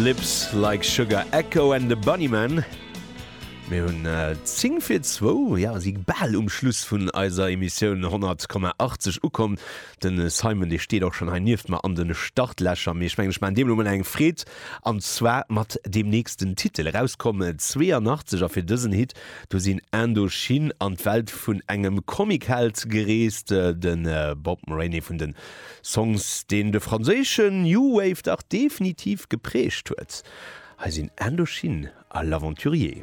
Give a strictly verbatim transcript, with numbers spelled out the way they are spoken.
Lips Like Sugar, Echo and the Bunnymen. Mir hunn zéng vir zwou, jo, si bal um Schluss vun eiser Emissioun honnert Komma achtzeg ukomm. De Simon, dee steet och schonn hei nieft mer an de Startlächer. Mee ech mengen, ech maachen deem elo mol eng Freed, an zwar mat deem nächsten Titel. Erauskomm zweeanachtzeg, a fir dësen Hit, do sinn Indochine an d'Welt vun engem Comicheld gereest, de Bob Moraine vun de Songs, deen de franséischen New Wave dach definitiv geprägt huet. Hei sinn Indochine a L'Aventurier.